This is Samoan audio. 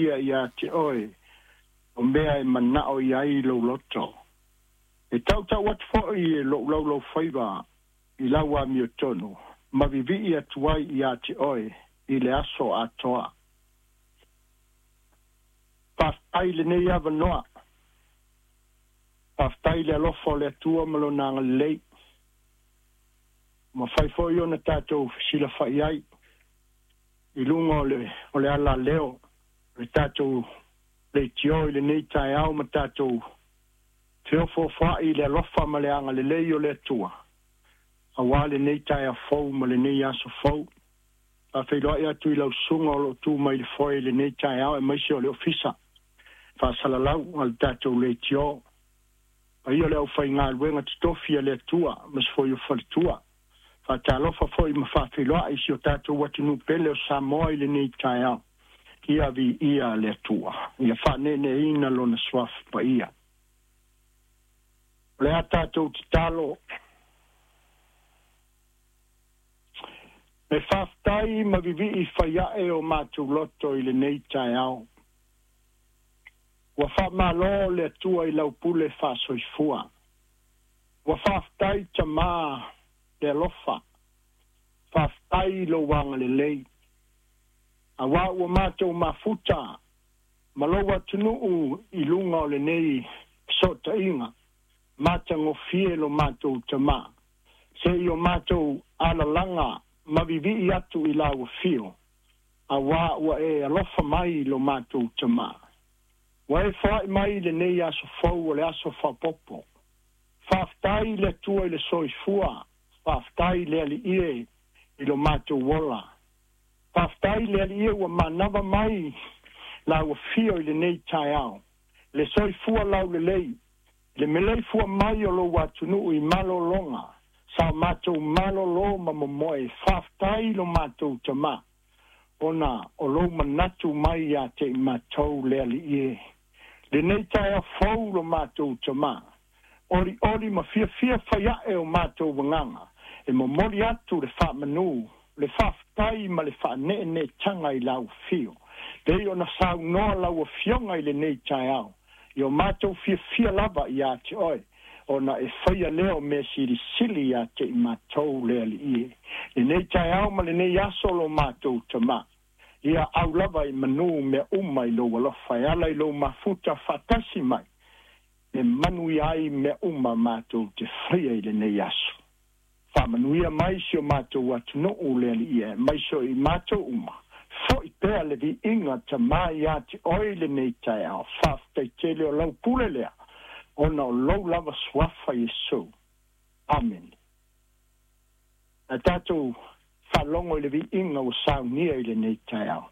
faia iā te oe o mea e manao i ai lou loto. E tautau atu foi e lou laulaufaiva i lau amiotonu ma vivii atu ai iā te oe i le aso atoa. Faafetai i lenei avanoa. Faafetai i le alofa o le Atua ma Lona agalelei. Ua mafai foi ona tatou fesilafai ai i luga o le, o le alaleo o le tatou leitio i lenei taeao ma tatou feofoofoai i le alofa ma le agalelei o le Atua auā lenei taeao fou ma lenei aso fou. Faafeiloai atu i lau susuga o lo o tu mai i le foe i lenei taeao aemaise o le Ofisa Faasalalau a le tatou leitio. Paia o le aufaigaluega totofi a le Atua ma se foi o faletua. Faatalofa foi ma faafeiloai i si o tatou atunuu pele o Samoa i lenei taeao. Ia viia le Atua, ia faaneeneeina Lona Suafa Paia. O le a tatou tatalo. E faafetai ma vivii fai ae o matou loto i lenei taeao. Ua faamalo le Atua i lau pule faasoifua. Ua faafetai Tamā le alofa. Faafetai i lou agalelei. Auā ua matou mafuta ma lou atunuu i luga o lenei fesootaiga matagofie lo matou Tamā, se i o matou alalaga ma vivii atu i lau afio, auā ua e alofa mai i lo matou Tamā. Ua e foai mai i lenei aso fou o le aso faaopoopo. Faafetai i le Atua i le soifua, faafetai i le Alii e i lo matou ola. Faafetai i le Alii e ua manava mai lau afio i lenei taeao, le soifua laulelei, le meleifua mai o lou atunuu i malologa, sa o matou malolo ma momoe. Faafetai i lo matou Tamā, ona o lou manatu mai ia te i matou le Alii e. Lenei taeao fou lo matou Tamā, olioli ma fiafia fai ae o matou agaga, e momoli atu le faamanu, le faafetai ma le faaneeneetaga i lau afio, pei ona saunoa lau Afioga i lenei taeao, i o matou fiafia lava iā te oe, ona e faia lea o mea silisili iā te i matou le Alii e. Lenei taeao ma lenei aso lo matou Tamā, ia au lava i manu mea uma i lou alofa e ala i lou mafuta faatasi mai, e manuia ai mea uma matou te faia i lenei aso. Faamanuia mai si o matou atunuu le Alii e, mai so i matou uma. Foi pea le viiga Tamā iā te oe i lenei taeao. Faafetai tele o lau pule lea, ona o lou lava Suafa Iesu. Amene. A tatou faalogo i le viiga ua saunia i lenei taeao.